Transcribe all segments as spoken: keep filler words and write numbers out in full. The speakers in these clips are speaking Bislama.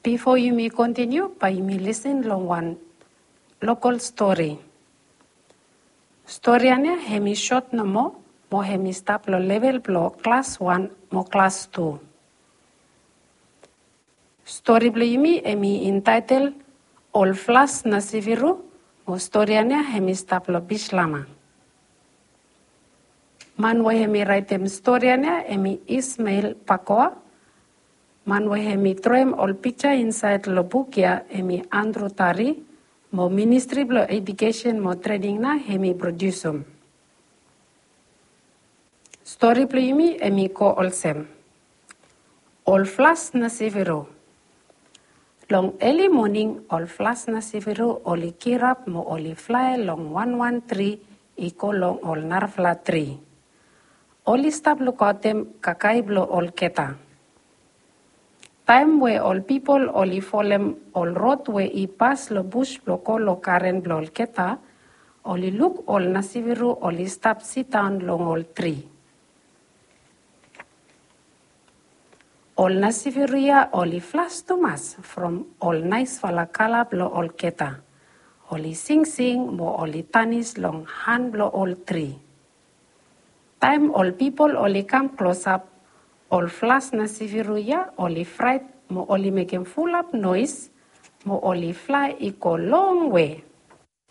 Bifo yumi kontiniu, bae yumi lisin long wan lokol stori. Stori ya nao hemi sot nomo, mo hemi stap long level blong klas wan mo klas tu. Stori blong yumi hemi intaetel Ol Flas Nasiviru, mo stori ya nao hemi stap long Bislama. Man we hemi raetem stori ya nao hemi Ismael Pakoa. Man we hemi droem ol pikja insaed long buk ya hemi Andrew Tari, mo Ministri blong Ejukesen mo Trening nao hemi prodiusum. Stori blong yumi hemi go olsem. Ol Flas Nasiviru. Long eli moning, ol Flas Nasiviru oli girap mo oli flae long wanwan tri i go long ol narafala tri. Oli stap lukaotem kakae blong olgeta. Taem we ol pipol oli folem ol rod we i pas long bus blong go long garen blong olgeta, oli luk ol Nasiviru oli stap sidaon long ol tri. Ol Nasiviru ya oli flas tumas from ol naesfala kala blong olgeta. Oli singsing mo oli danis long han blong ol tri. Taem ol pipol oli kam klosap, ol Flas Nasiviru ya oli fraet mo oli mekem fulap noes, mo oli flae i go longwe.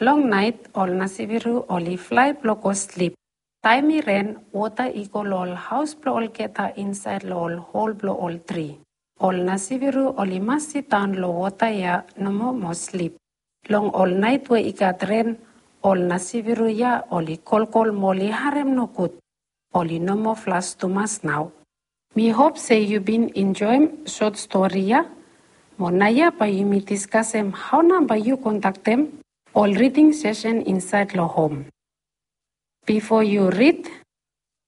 Long naet, ol Nasiviru oli flae blong go slip. Taem i ren, wota i go long ol haos blong olgeta insaed long ol hol blong ol tri. Ol Nasiviru oli mas sidaon long wota ya nomo mo slip. Long ol naet we i gat ren, ol Nasiviru ya oli kolkol mo oli harem nogud. Oli no moa flas tumas nao. Mi hop se yu bin enjoem sot stori ya. Mo naoia bae yumi diskasem hao nao bae yu kondaktem ol riding sesen insaed long hom. Bifo yu rid,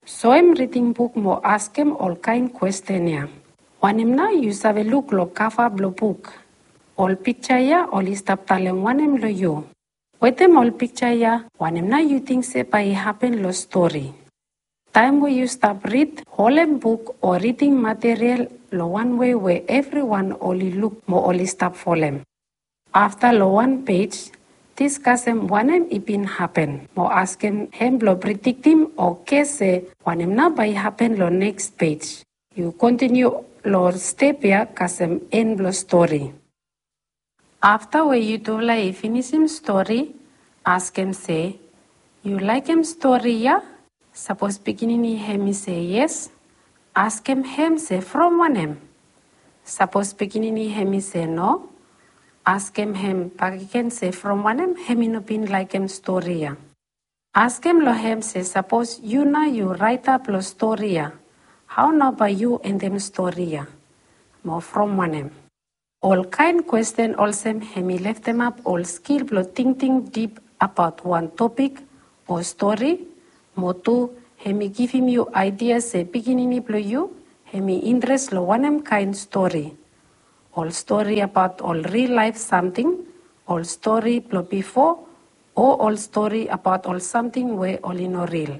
soem riding buk mo askem ol kaen kwesten ya. Wanem nao yu save luk long kava blong buk? Ol pikja ya oli stap talem wanem long yu? Wetem ol pikja ya, wanem nao yu ting se bae i hapen long stori? Taem we yu stap rid, holem buk o riding material long wan wei we evriwan oli luk mo oli stap folem. Afta long wan pej, diskasem wanem i bin hapen, mo askem hem blong prediktim o ges se wanem nao bae i hapen long neks pej. Yu kontiniu long step ya kasem en blong stori. Afta we yutufala i finisim stori, askem se, yu laekem stori ya? Sapos pikinini hem i se yes, askem hem se from wanem. Sapos pikinini hem i se no, askem hem bakegen se from wanem hem i no bin laekem stori ya. Askem long hem se sapos yu nao yu raeta blong stori ya, hao nao bae yu endem stori ya? Mo from wanem? Ol kaen kwesten olsem hem i leftemap ol skil blong tingting dip abaot wan topik o stori, mo tu hem i givim yu aedia se pikinini blong yu hem i intres long wanem kaen stori. Ol stori abaot ol ril laef samting, ol stori blong bifo, o ol stori abaot ol samting we oli no ril.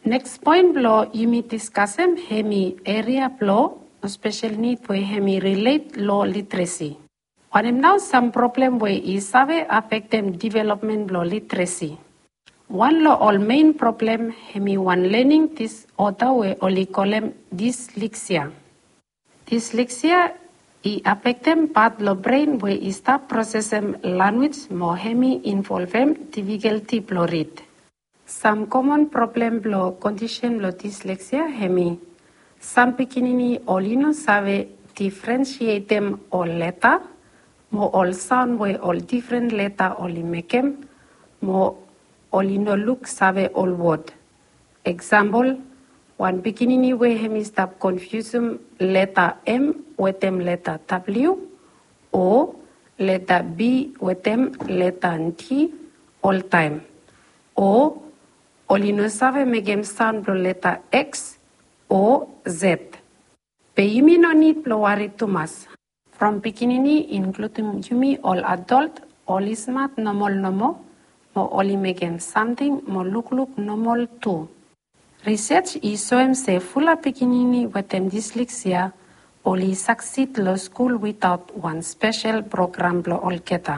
Neks poen blong yumi diskasem hem i eria blong spesel nid we hem i rilet long literesi. Wanem nao sam problem we i save afektem developmen blong literesi? Wan long ol mein problem hem i wan lening disoda we oli kolem disleksia. Disleksia i afektem pat blong bren we i stap prosesem lanwis mo hem i involvem difikalti blong rid. Sam komon problem blong kondisen blong disleksia hem i, sam pikinini oli no save difrensietem ol leta mo ol saon we ol difren leta oli mekem, mo oli no luksave ol wod. Eksampol, wan pikinini we hem i stap konfiusum leta M wetem leta W, o leta B wetem leta D oltaem. O oli no save mekem saon blong leta X o Z. Be yumi no nid blong wari tumas. From pikinini, inkludim yumi ol adol, oli smat nomol nomo, mo oli mekem samting mo lukluk nomol tu. Risej i soem se fulap pikinini wetem disleksia oli saksid lo skul witaot wan spesel program blo olgeta.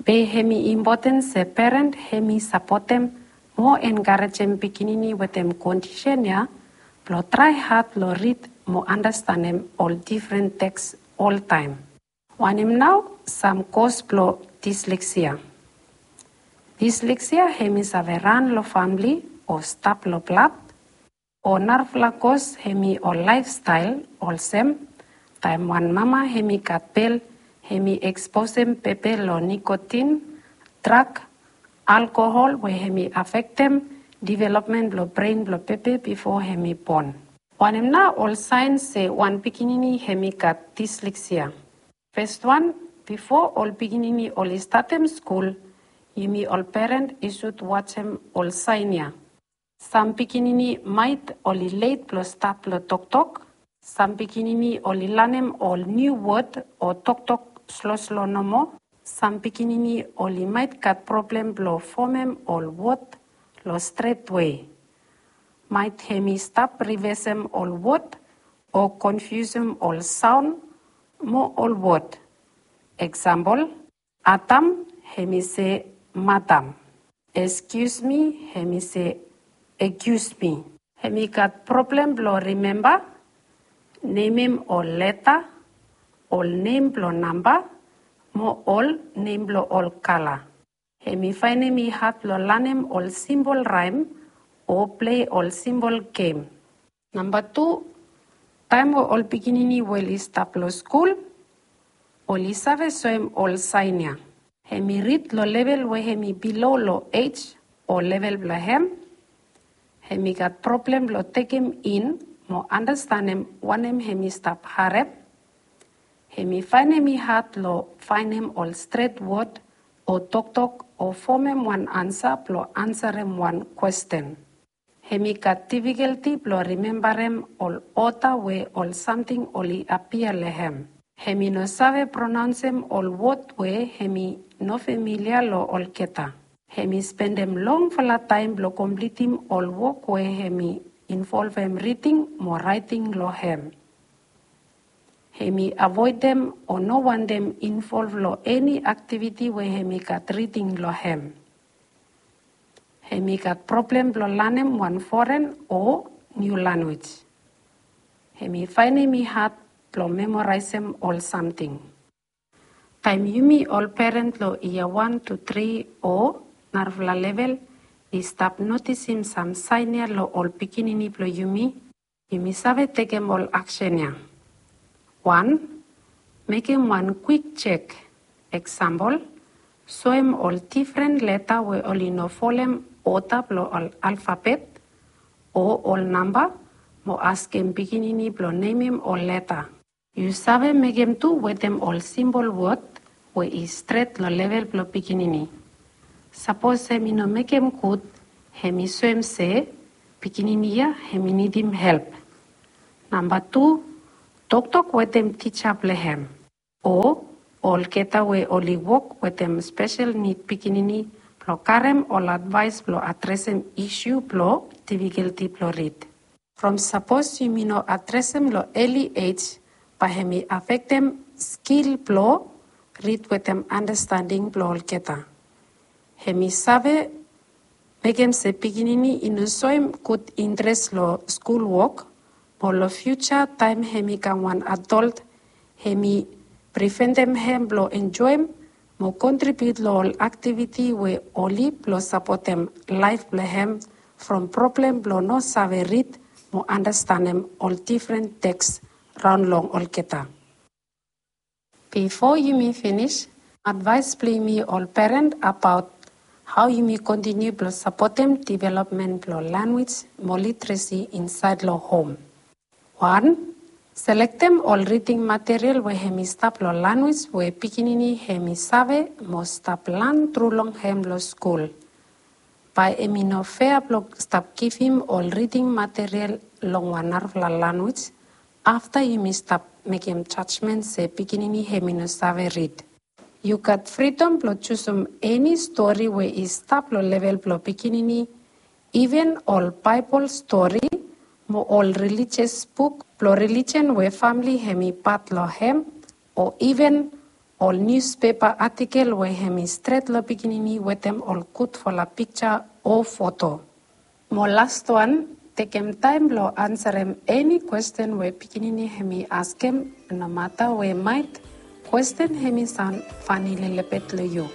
Be hemi impoten se peren hemi sapotem mo enkarejem pikinini wetem kondisen ya blo trae had lo rid mo andastanem ol difren teks oltaem. Wanem nao sam kos blo disleksia? Disleksia hemi save ran lo famle o stap lo blad, o narafala kos hemi ol laefstael olsem, taem wan mama hemi gat bel, hemi eksposem bebe lo nikotin, drag, alkohol we hemi afektem developmen blo bren blo bebe bifo hemi bon. Wanem nao ol saen se wan pikinini hemi gat disleksia? Fes wan, bifo ol pikinini oli statem skul, yumi ol peren i sud wajem ol saen ya. Sam pikinini maet oli let blo stat lo toktok. Sam pikinini oli lanem ol niu wod o toktok sloslo nomo. Sam pikinini oli maet gat problem blo fomem ol wod lo stret wei. Maet hemi stap rivesem ol wod o konfiusem ol saon mo ol wod. Eksampol, Adam, hemi se madam. Excuse me, hemi se accuse me. Hemi gat problem blo rimemba nemem ol leta, ol nem blo namba, mo ol nem blo ol kala. Hemi faenem i had lo lanem ol simbol raem o plei ol simbol gem. Namba tu, taem we ol pikinini we oli stap lo skul, oli save soem ol saen ya. Hemi rid lo level we hemi bilo lo ej o level blo hem. Hemi gat problem lo tekem in mo andastanem wanem hemi stap harem. Hemi faenem i had lo faenem ol stret wod o toktok o fomem wan ansa blo ansarem wan kwesten. Hemi gat difikelti blo rimembarem ol oda we ol samting oli apia lo hem. Hemi no save pronaonsem ol wod we hemi no familia lo olgeta. Hemi spendem longfala taem blo komplitim ol wok we hemi involvem riding mo raeting lo hem. Hemi avoedem o no wantem involv lo eni aktiviti we hemi gat riding lo hem. Hemi gat problem blo lanem wan foren o niu lanwis. Hemi faenem i had blo memoraesem ol samting. Taem yumi ol peren lo yia wan tu tri o narafala level i stap notisim sam saen ya lo ol pikinini blo yumi, yumi save tekem ol aksen ya. Wan, mekem wan kwik jek. Eksampol, soem ol difren leta we oli no folem oda blo ol alfabet o ol namba, mo askem pikinini blo nemem ol leta. Yu save mekem tu wetem ol simbol wod we i stret lo level blo pikinini. Sapos hemi no mekem gud, hemi soem se pikinini ya hemi nidim help. Namba tu, toktok wetem tija blo hem o olgeta we oli wok wetem spesel nid pikinini blo karem ol advaes blo adresem isu blo difikelti blo rid. From sapos yumi no adresem lo eli ej, bae hemi afektem skil blo rid wetem andastanding blo olgeta. Hemi save mekem se pikinini i no soem gud intres lo skul wok, mo lo fiuja taem hemi kam wan adolt, hemi priventem hem blo enjoem mo kontribiut lo ol aktiviti we oli blo sapotem laef blo hem from problem blo no save rid mo andastanem ol difren teks raon long olgeta. Bifo yumi finis, advaes blo yumi ol peren abaot hao yumi kontiniu blo sapotem developmen blo lanwis mo literesi insaed lo hom. Wan, selektem ol riding material we hemi stap lo lanwis we pikinini hemi save mo stap lan tru long hem lo skul. Bae hemi no fea blo stap givim ol riding material long wan narafala lanwis afta yumi stap mekem jajmen se pikinini hemi no save rid. Yu gat fridom blo jusum eni stori we i stap lo level blo pikinini, iven ol Baebol stori mo ol rilijes buk Blong religion we famili hem i pat long hem, o even ol niuspepa atikel we hem i stret long pikinini wetem ol gudfala piksa o foto. Mo lastwan, tekem taem blong ansarem eni kwesten we pikinini hem i askem, nomata we maet kwesten hem i saon fani lelebet long yu.